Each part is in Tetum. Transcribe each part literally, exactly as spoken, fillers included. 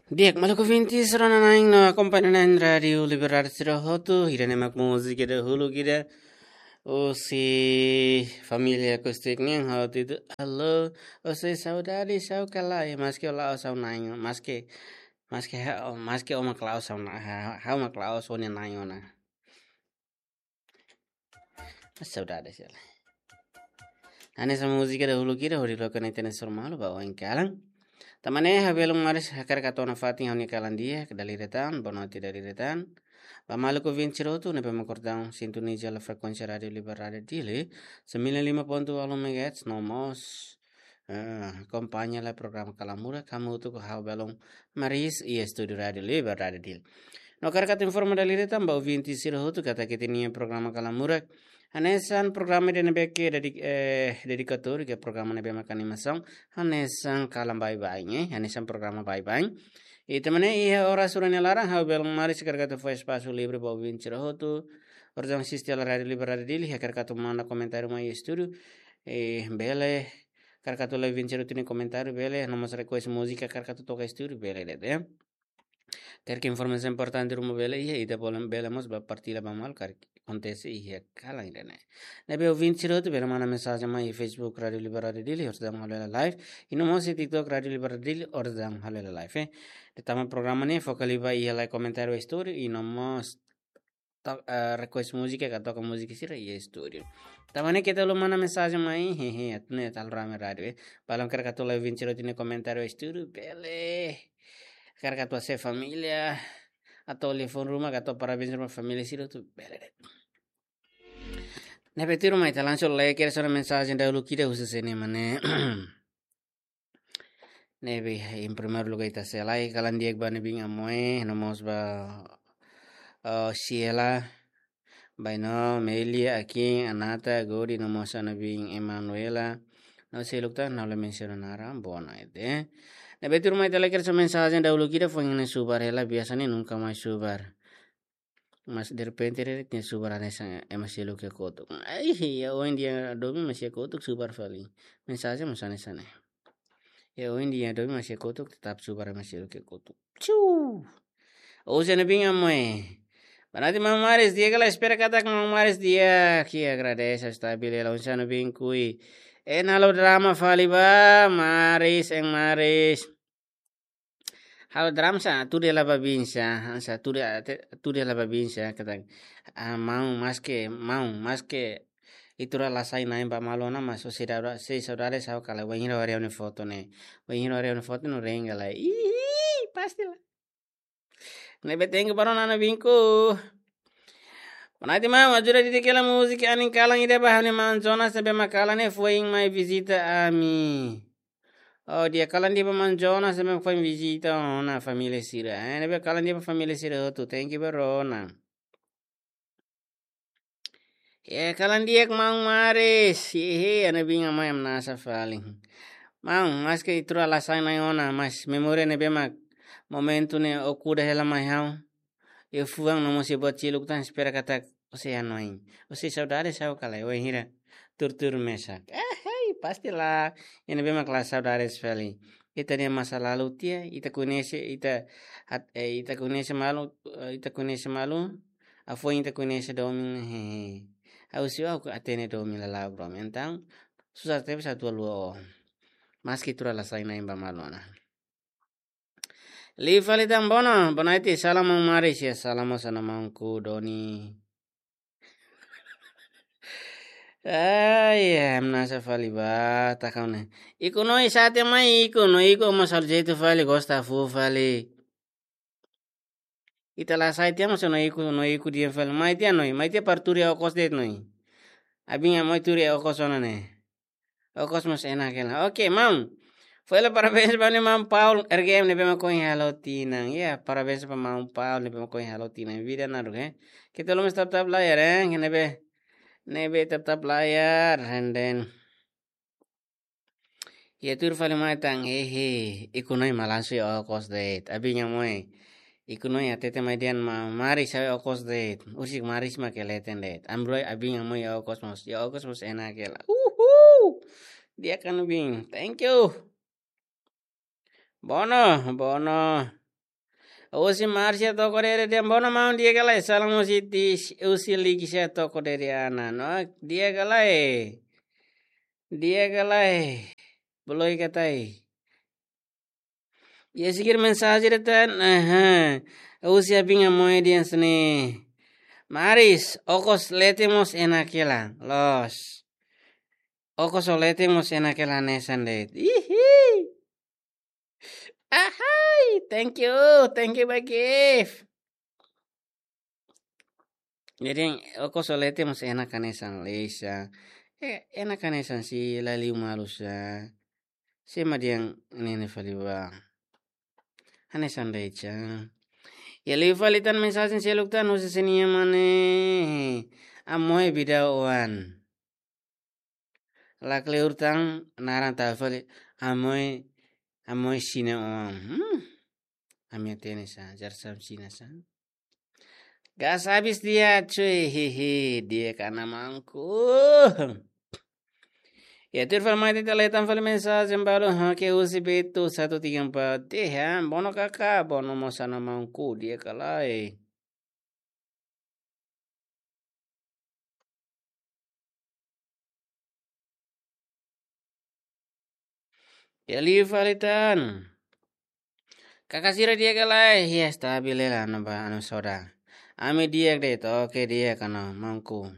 Di'ak, maluk ouvintes rona-na'in no akompaña na'in Rádiu Liberdade sira hotu, ida-ne'e mak múzika dahuluk ida. Husi família Acústica nian ha'u titula Alô, ó sei saudade, sá ka lae, maske ó la'ós ha'u-nia na'in, maske, maske ha'u, maske ó mak la'ós ha'u-nia, ha-, ha'u mak la'ós ó-nia na'in ona. Saudade sira. Hanesan múzika dahuluk ida hodi loke ona ita-nia soru malu ba oin kalan. Tan ne'e ha'u belun maris hakarak hato'o nafatin ha'u-nia kalan di'ak, dala ida tan, boa noite dala ida tan. Ba maluk ouvinte sira hotu ne'ebé mak orsida sintoniza hela frekuénsia Rádiu Liberdade Dili, sembilan lima ponto walu megahertz, no mós, eh, akompaña hela programa Kalan Murak, hamutuk ho ha'u belun maris iha estúdiu Rádiu Liberdade Dili. No hakarak atu informa dala ida tan ba ouvinte sira hotu katak ita-nia programa Kalan Murak hanesan programa ida ne'ebé ke dedi-, eh, dedikatóriu, ke programa ne'ebé mak animasaun, hanesan kalan baibain, eh, hanesan programa baibain. I tan ne'e iha oras rua nia laran ha'u belun maris hakarak atu fó espasu livre ba ouvinte sira hotu. Orsida asiste hela Rádiu Liberdade Dili, hakarak atu manda komentáriu mai estúdiu, eh, bele, hakarak atu lee ouvinte sira hotu nia komentáriu bele, no mós request múzika hakarak atu toka estúdiu bele de'it, eh. Karik informasaun importante ruma bele iha, ita bele, bele mós ba partilla ba malu karik akontese iha kalan ida-ne'e. Ne'ebé ouvinte sira hotu bele manda mensajen mai iha Facebook Rádiu Liberdade Dili, orsida halo hela live. I no mós iha TikTok Rádiu Liberdade Dili, orsida halo hela live, eh. De'it tanba programa ne'e foka liu ba iha lee komentáriu estúdiu, i no mós to-, eh, request múzika ka toka múzika sira iha estúdiu. Tan ne'e keta haluha manda mensajen mai, hehe, atu nune'e ita halo rame rádiu, eh. Balun hakarak atu lee ouvinte sira hotu nia komentáriu estúdiu, bele. Hakarak atu hase'e família, atu telefone ruma, atu parabéns ruma família sira hotu, bele de'it. Ne'ebé tuirmai ita langsung lee kedas ona mensajen dahuluk ida husi sé ne'e mak ne'e. Ne'ebé, em primeiro lugar ita sei halai kalan di'ak ba ha'u-nia biin Amoe, no mós ba, eh, Sheila, Baino, Melia, Akin, Anata, Godi, no mós ha'u-nia biin Emanuela. No seluk tan, ha'u la mensiona naran, boa noite. Ne'ebé tuirmai ita lee kedas ona mensajen dahuluk ida, foin ne'e subar hela, biasa ne'e nunka mai subar. Mas derrepente de'it nia subar hanesan ema seluk iha kotuk. Ai, iha oin di'ak domin mós iha kotuk subar fali. Mensajen mós hanesan ne'e. Iha oin di'ak domin mós iha kotuk tetap subar ema seluk iha kotuk. Tsu. Oinsá ha'u-nia biin Amoe? Boa noite maun Maris, di'ak ka lae, espera katak maun Maris di'ak. Oke, agradese, stabil hela. Oinsá ha'u-nia biin Kui? Eh, halo drama fali ba, Maris, eh Maris. Halo drama sá, tuir hela ba biin sá, sá tuir, te-, tuir hela ba biin sá, katak, ah, maun, maske, maun, maske ita rua la sai na'in ba malu ona, mas ó sei da-, sei saudade sá ka lae, wainhira ó haree ha'u-nia foto ne'e. Wainhira ó haree ha'u-nia foto ne'e, ó rengga lai. Ih, pasti la. Ne'ebé thank you ba rona-na'in biin Kui. Boa noite maun, ajuda didik hela múzika anin kalan ida ba ha'u-nia maun Jonas ne'ebé mak kalan ne'e foin mai vizita ami. Oh, di'ak, kalan di'ak ba maun Jonas ne'ebé foin vizita ona família sira. Eh, ne'ebé kalan di'ak ba família sira hotu. Thank you ba rona. Eh, kalan di'ak maun Maris. Hehe, ha'u-nia biin Amoe, hamnasa fali. Maun, maske ita rua la sai na'in ona, mas memória ne'ebé mak momentu ne'e ó kuda hela mai ha'u iha fuan no mós iha buat seluk tan, espera katak ó sei hanoin. Ó sei saudade sá ka lae, wainhira tuur-tuur mesak? Eh, hei, pasti la. Iha ne'ebé mak la saudade fali. Ita-nia masa lalu tiha, ita koñese, ita hat-, eh, ita koñese malu, eh, ita koñese malu, hafoin ita koñese domin, hehe. Ha'u husi ó ha'u hatene domin lala'ok domin. Entaun, susar tebes atu haluha ó. Maske ita rua la sai na'in ba malu ona. Liu fali tan bono, boa noite, salam maun Maris, iha salam mós ha'u-nia maun Kui Doni. Ai, hamnasa fali ba, takau ne'e. Ikus Noi, sá tiha mai Ikus Noi, Ikus mós halo jeitu fali, gosta fuuk fali. Ita la sai tiha mós Noi Ikus, Noi Ikus di'ak fali. Mai tiha Noi, mai tiha para tuur iha okos de'it Noi. Abin Amoe tuur iha okos ona ne'e. Okos mós enak hela. Oke, maun. Fó hela parabéns ba ha'u-nia maun Paul R G M ne'ebé mak ohin halo tinan. Ya, parabéns ba maun Paul ne'ebé mak ohin halo tinan. Vida naruk, eh. Keta haluha mós tap-tap layar, eh. Ne'ebé, ne'ebé tap-tap layar, and then. Ya, tuur fali mai tan, hehe. Ikus Noi malansu iha okos de'it. Abin Amoe. Ikus Noi hatete mai dehan maun Maris sá iha okos de'it. Husik Maris mak leten de'it. Ami rua, abin Amoe iha okos mós. Iha okos mós enak hela. Uhuu. Di'ak ha'u-nia biin. Thank you. Bono, bono. Husi Marcia Toko Dere dehan: Bono maun, di'ak ka lae? Salam husi Tis, husi Lixia Toko Dere Ana. No, di'ak ka lae? Di'ak ka lae? Beloi ka tai? Iha seguir mensajen ida tan, aha. Husi Abinga Moe dehan hanesan ne'e: Maris, okos leten mós enak hela. Loos. Okos leten mós enak hela hanesan de'it. Ihi. Ahai, thank you, thank you ba gift. Jadi, okos leten mós enak hanesan Lisa. Eh, enak hanesan si la liu malu sa. Sema diang nene fali ba. Hanesan de'it sa. Iha liu fali tan mensajen seluk tan husi Senia Mane. Amoe bida oan. Lakleur tan naran tau fali. Amoe, amoe sina oan. Hmm. Ami hatene sa, jar sam sina sa. Gas habis dia, cuy. Hihi, di'ak ka lae maunku? Ya, tuir fali mai ita hetan fali mensajen balu, ha, ke husi Beto satu tiga empat. Dehan, bono kaka, bono mós ana maunku, di'ak ka lae? Iha liu fali tan. Kaka sira di'ak ka lae? Iha, stabil hela, anu ba, anu soda. Ami di'ak de'it, oke, di'ak ka lae maunku?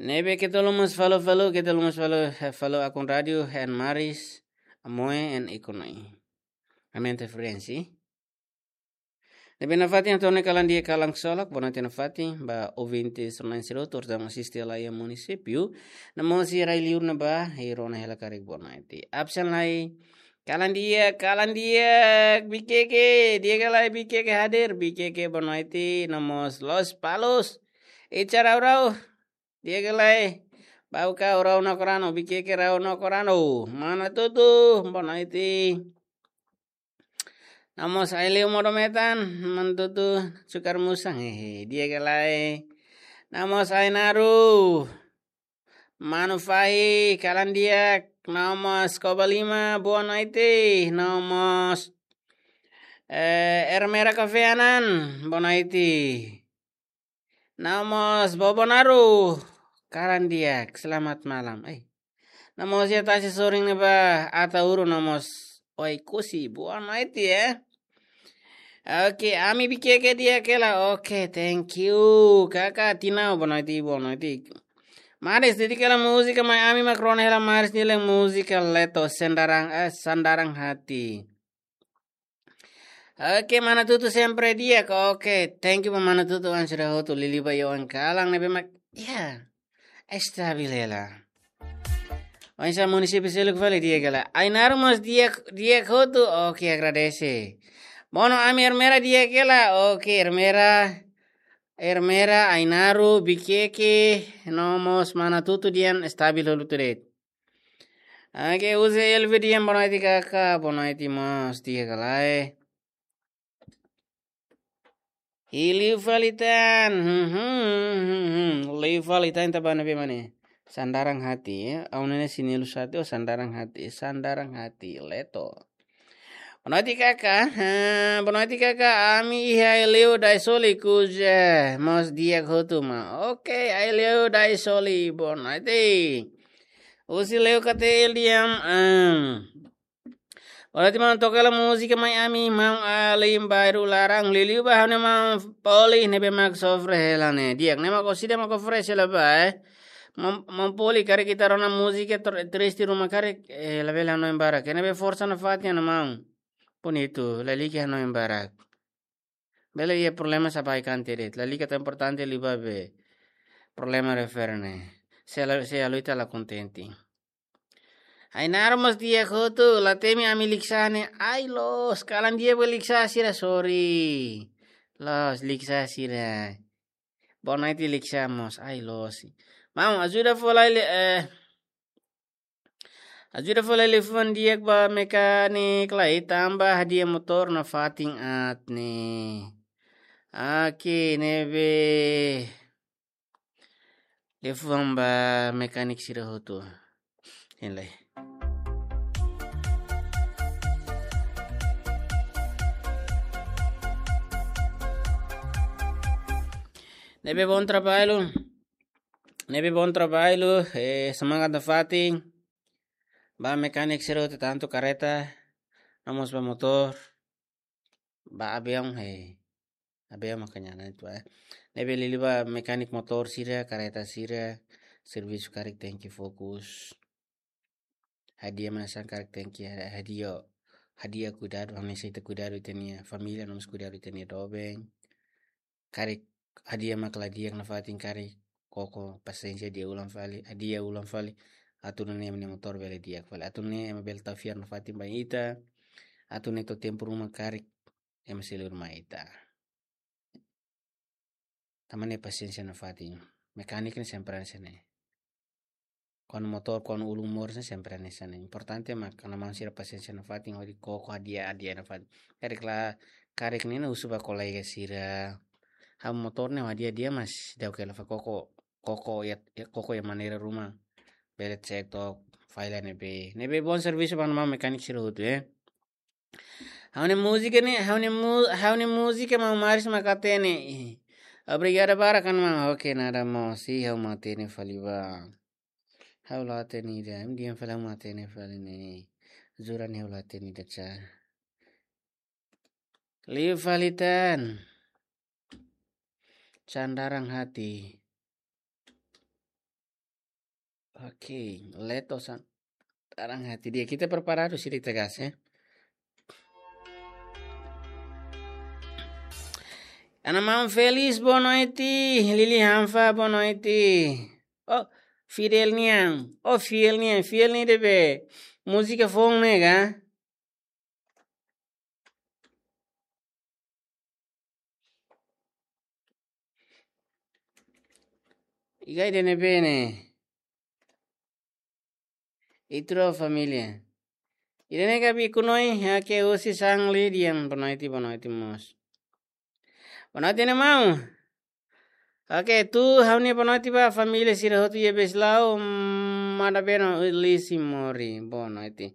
Ne'ebé keta haluha mós follow, follow, keta haluha mós follow, eh, follow akun rádiu, Hen Maris, Amoe, en ikun ai. Ami interferensi. Ne'ebé nafatin hato'o ona kalan di'ak, kalan ksolok, bonoite nafatin, ba ouvinte sira na'in-sira hotu, terutama asiste lai iha munisípiu, no mós iha rai-liur ne'ebá, i rona hela karik bonoite. Absen lai, kalan di'ak, kalan di'ak, Bikeke, di'ak ka lae Bikeke hadir, Bikeke bonoite, no mós Lospalos, Ica Rau-Rau, di'ak ka lae, Bauka Rau Nakorano, Bikeke Rau Nakorano, Mana Tutu, bonoite. No mós Aileu Modo Metan, Mana Tutu, Cukar Musang, hehe, di'ak ka lae. No mós Ainaru, Manu Fahi, kalan di'ak, no mós Koba Lima, bonoite, no mós, eh, Ermera Kafeanan, bonoite. No mós Bobonaru, kalan di'ak, selamat malam. Eh. No mós iha tasi sorin ne'ebá, Ataúro, no mós Oekusi, bonoite, eh. Oke, ami Bikeke di'ak hela. Oke, thank you. Kaka Tinau, bonoite, bonoite. Maris, dedika hela múzika mai ami, mak rona hela Maris nia múzika Leto, Sandaran, eh, Sandaran Hati. Oke, Mana Tutu sempre di'ak. Oke, thank you ba Mana Tutu, oan sira hotu, liuliu ba iha oan kalan ne'ebé mak, ya, stabil hela. Oinsá munisípiu seluk fali di'ak ka lae? Ainaru mós di'ak, di'ak hotu. Oke, agradese. Bono ami Ermera di'ak ka lae? Oke, Ermera, Ermera, Ainaru, Bikeke, no mós Mana Tutu dehan stabil hotu de'it. Oke, Uze Elvi dehan bonoite kaka, bonoite mós, di'ak ka lae? I liu fali tan, hmm, hmm, hmm, hmm, hmm. Liu fali tan, ita bá ne'ebé mak ne'e? Sandaran Hati, ya. Au nene sinilus hati, oh, Sandaran Hati, Sandaran Hati, Leto. Bonoite kaka, ha, bonoite kaka, ami iha Aileu Daisoli, kuja, mós di'ak hotu mak. Oke, Aileu Daisoli, bonoite. Husi Leo K T L dehan, em, bonoite maun, toka hela múzika mai ami, maun alin bairru laran, liuliu ba ha'u-nia maun Poli, ne'ebé mak sofre hela ne'e. Di'ak, ne'e mak orsida mak oferese hela ba, eh. Maun, maun Poli, karik ita rona múzika tr-, triste ruma karik, eh, labele hanoin barak. Ne'ebé forsa nafatin ha'u-nia maun. Bonitu, lalika hanoin barak. Bele iha problema sá baik ante de'it. Lalika tão importante liu ba be. Problema refere ne'e. Se la, se la ita la kontente. Ainaru mós di'ak hotu, la temi ami Liksa ne'e. Ai loos, kalan di'ak ba Liksa sira, sorry. Loos, Liksa sira. Bonoite Liksa mós, ai loos. Maun, ajuda fó lai, eh, ajuda fó lai liafuan di'ak ba mekanik lai, tanba hadi'a motór nafatin aat ne'e. Oke, ne'ebé. Liafuan ba mekanik sira hotu. Hein lai. Ne'ebé bom trabalho. Ne'ebé bom trabalho. Eh, semangat nafatin. Ba mekanik sira hotu tantu kareta, no mós ba motór, ba aviaun, eh. Aviaun makanya na itu, eh. Ne'ebé liuliu ba mekanik motór sira, kareta sira, servisu karik tenke fokus. Hadi'a mak hanesan karik tenke hadi'a, hadi'a kuidadu, hanesan ita kuidadu ita-nia família, no mós kuidadu ita-nia doben. Karik hadi'a mak la di'ak nafatin karik koko pasiénsia, hadi'a ulang fali, hadi'a ulang fali. Atu nune'e ema nia motór bele di'ak fali. Atu nune'e ema bele tau fiar nafatin ba ita. Atu nune'e to'o tempu ruma karik ema sei lori mai ita. Tanba ne'e pasiénsia nafatin. Mekanik ne'e sempre hanesan ne'e. Kuandu motór, kuandu ulun moris ne'e sempre hanesan ne'e. Importante mak ana-maun sira pasiénsia nafatin, hodi koko hadi'a, hadi'a nafatin. Karik la, karik ne'e ne'e husu ba kolega sira. Ha'u motór ne'e hadi'a, hadi'a mas daudauk hela fali koko, koko iha, iha koko iha maneira ruma. Bele cek to'ok fali ne'ebé. Ne'ebé bom servisu ba ana-maun mekanik sira hotu, eh. Ha'u-nia múzika ne'e, ha'u-nia mu-, ha'u-nia múzika maun Maris mak hatene. Obrigada barak, maun. Oke, nada maun. Sei ha'u mak hatene fali ba. Ha'u la hatene ida, em di'ak fali ha'u mak hatene fali ne'e. Jura ne'e ha'u la hatene ida, ca. Liu fali tan. Sandaran hati. Oke, Leto Sandaran hati, di'ak, ita preparadu, sira ita gas, eh. Ana-maun Felis, boa noite. Lili Hanfa, boa noite. Oh, Fidel nian. Oh, Fiel nian. Fiel ne'e ne'ebé múzika foun ne'e ka? Iha ida-ne'ebé ne'e? Ita rua família. Ida-ne'e Gabi Kunoi, ha'u husi Sangli, di'ak, boa noite, boa noite mós. Boa noite, ana-maun. Oke, atu ha'u-nia boa noite ba família sira hotu iha Basileia, mm, manda bem, Lisi Mori, boa noite.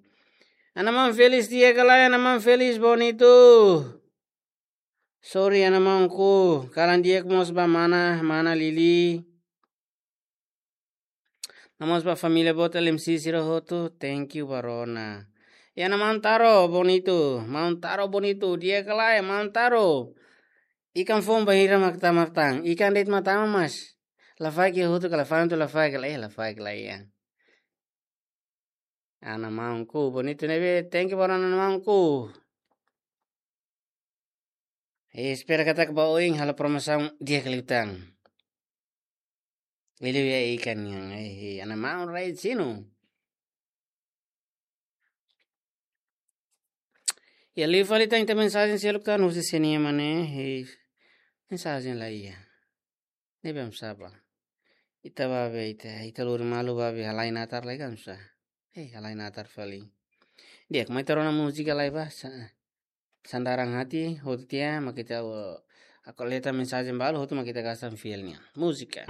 Ana-maun Felis, di'ak ka lae, ana-maun Felis, bonito. Sorry, ana-maunku, kalan di'ak mós ba mana, mana Lili. No mós ba família boot L M C sira hotu, thank you ba rona. Iha ana-maun Taro, bonito, maun Taro, bonito, di'ak ka lae, maun Taro. Ikan foun bainhira mak tama tan, ikan de'it mak tama mas. Lafaek iha hotu ka, lafaek hotu lafaek ka lae, eh, lafaek ka lae, ya. Ana-maunku, bonito ne'ebé, thank you ba rona, ana-maunku. Eh, espera katak ba oin halo promosaun di'ak liu tan. Liuliu iha ikan nian, eh, eh, ana-maun rai sinu. Ya, liu fali tan, ita mensajen seluk tan husi sira-nia mane, eh, mensajen la iha. Ne'ebé oinsá ba. Ita ba be, ita, ita lori malu ba be, halai natar lai kan sa. Eh, halai natar fali. Di'ak, mai ita rona múzika lai ba, sa-, Sandaran Hati, hotu tiha, mak ita, uh, aku leta mensajen balu, hotu mak ita gasan Fiel nian. Múzika.